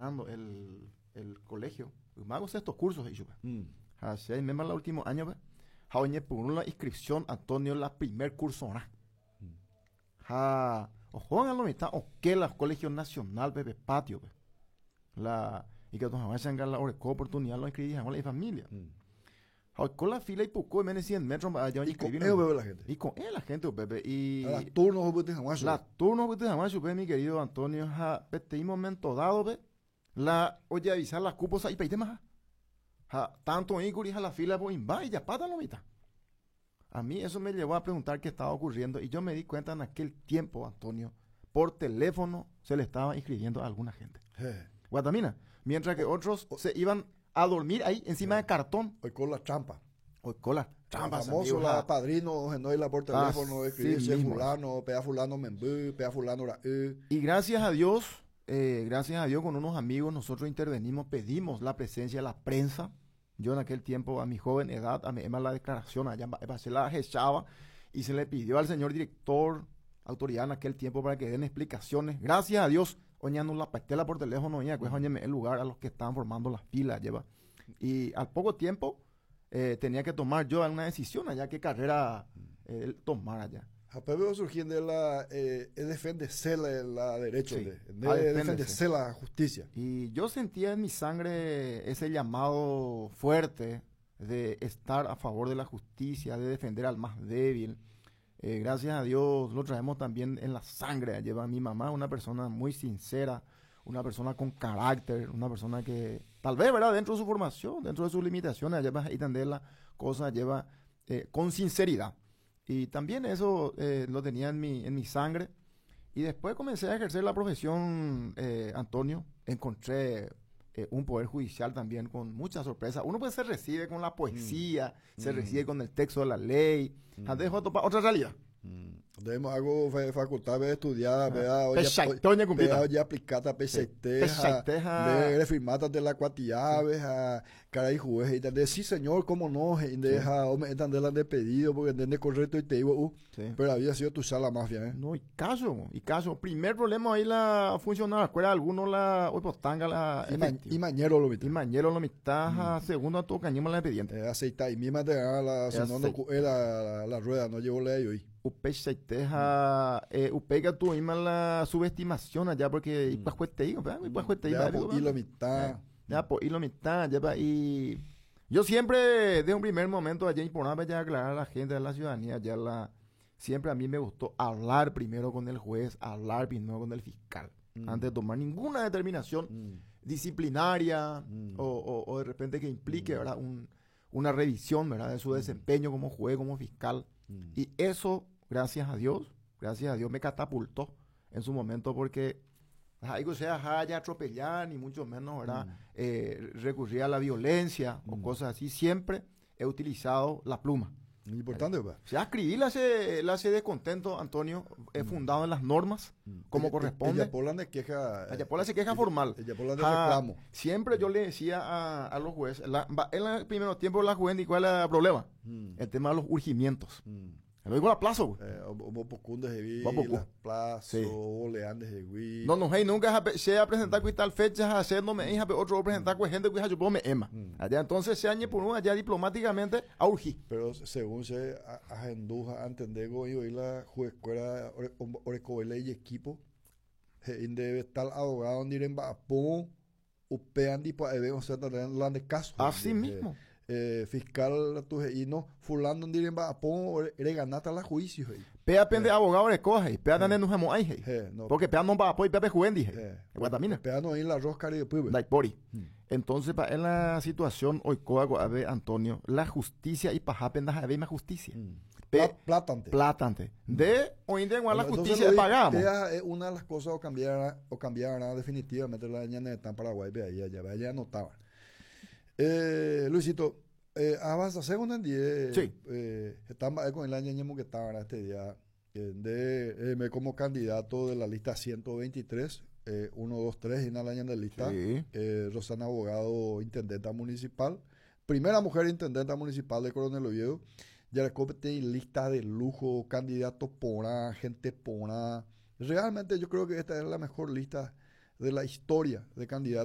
terminando el colegio, ymáko sexto curso he'i chupe. Ha che aiméma la último año-pe, ha oñepyrũ la inscripción Antonio la primer curso-rã. Ha ohógã lo mitã oke la Colegio Nacional-pe pe patio-pe. La ikatu hag̃uáicha la oreko oportunidad la oinscribi hag̃ua la ifamilia. Ha oiko la fila ipuku oiméne 100 metros mba'e aja oñescribi. Iko'ẽ upépe la gente. Iko'ẽ la gente upépe y La turno ohupyty hag̃ua chupe. La turno ohupyty hag̃ua chupe mi querido Antonio ha peteĩ momento dado-pe la ojeavisa la cupo sa'ipaitémaha. Ha tanto oĩkuri ha la fila-pe oĩmba ijapáta lo mitã. A mí eso me llevó a preguntar qué estaba ocurriendo y yo me di cuenta en aquel tiempo, Antonio, por teléfono se le estaba inscribiendo a alguna gente. Guatamina, mientras que otros se iban a dormir ahí encima de cartón. Oiko la trampa. Oiko la trampa. Famoso la padrino ohenói la por teléfono, escribirse fulano, pea fulano memby, pea fulano ra'y. Y gracias a Dios con unos amigos nosotros intervenimos, pedimos la presencia de la prensa. Yo en aquel tiempo, a mi joven edad, a mi la declaración allá se la echaba y se le pidió al señor director, autoridad en aquel tiempo para que den explicaciones. Gracias a Dios, oñando la pastela por teléfono, oña, pues el lugar a los que estaban formando las filas, lleva. Y al poco tiempo tenía que tomar yo alguna decisión allá, qué carrera tomar allá. Ha surgiendo la defenderse la derecho, de defenderse la justicia. Y yo sentía en mi sangre ese llamado fuerte de estar a favor de la justicia, de defender al más débil. Gracias a Dios lo traemos también en la sangre. Lleva a mi mamá, una persona muy sincera, una persona con carácter, una persona que tal vez, ¿verdad? Dentro de su formación, dentro de sus limitaciones, lleva a entender la cosa, lleva con sinceridad. Y también eso lo tenía en mi sangre. Y después comencé a ejercer la profesión, Antonio. Encontré un poder judicial también con mucha sorpresa. Uno pues se recibe con la poesía, se recibe con el texto de la ley. Antes de topar otra realidad. Debemos algo facultad de estudiar, vea, oye, aplicata PCT, de firmata de la cuatiave, a cara y juez, y de sí señor, cómo no, y deja, o me de la de pedido, porque entiende correcto y te digo, pero había sido tu sala mafia, ¿eh? No, y caso, primer problema ahí la funcionar, escuela alguno la, hoy pues tanga la Y, mañero lo mitad. Y mañero lo mitad, segundo a todo cañemos la expediente. Aceita y misma te la, si no, no, la rueda, no llevo la hoy. Upeichaite upéi katu oĩma la subestimación allá porque ipyahuetei, ipyahuetei. Y lo mitad. Ya, pues, y lo mitad, ya, y yo siempre, desde un primer momento, allá importante ya aclarar a la gente, a la ciudadanía, ya la, siempre a mí me gustó hablar primero con el juez, hablar primero con el fiscal, antes de tomar ninguna determinación disciplinaria o de repente que implique, ¿verdad?, una revisión, ¿verdad?, de su desempeño como juez, como fiscal. Y eso, gracias a Dios me catapultó en su momento porque algo sea haya atropellar, ni mucho menos, ¿verdad?, recurrir a la violencia o cosas así. Siempre he utilizado la pluma. Importante, ¿verdad? O sea, escribí la descontento, Antonio, he fundado en las normas, como corresponde. Ella Pola de queja. Ella Pola se queja formal. Ella Pola de reclamo. Siempre yo le decía a los jueces, en el primer tiempo la juez, ¿cuál era el problema? El tema de los urgimientos. Lo digo a plazo. Eh, plazo, sí. No, no, hey, nunca se a presentar con tal fecha, haciéndome hija, otro presentar con gente que yo puedo me ema. Allá entonces se añe por uno allá diplomáticamente a urgir. Pero según se agenduja a entender y la juez orecovele y equipo, debe estar abogado en mba'apo upe andi o sea, la de caso. Así mismo. Fiscal tu y no fulano ndire mba'apo reganata la juicio. Pea pende abogado recoge, pea tane no hemo ai, porque pea no mba'apo y pea pe juendi. Guatamina. Pea no la rosca de pueblo. Daipori. Entonces, pa en la situación hoy a ver, Antonio, la justicia y paja pendaja más justicia. Plátante. Plátante. De hoy en día la justicia pagamos. Es una de las cosas o cambiará definitivamente la ñane de Paraguay, ve ahí, allá, allá anotaba. Luisito, avanza segundo en día. Sí. Estamos con el año que estaba este día de como candidato de la lista 123, 1, 2, 3 en la año de lista. Sí. Rosana Abogado, intendenta municipal. Primera mujer intendenta municipal de Coronel Oviedo. Ya tiene lista de lujo, candidato porã, gente porã. Realmente yo creo que esta es la mejor lista de la historia de candidatos.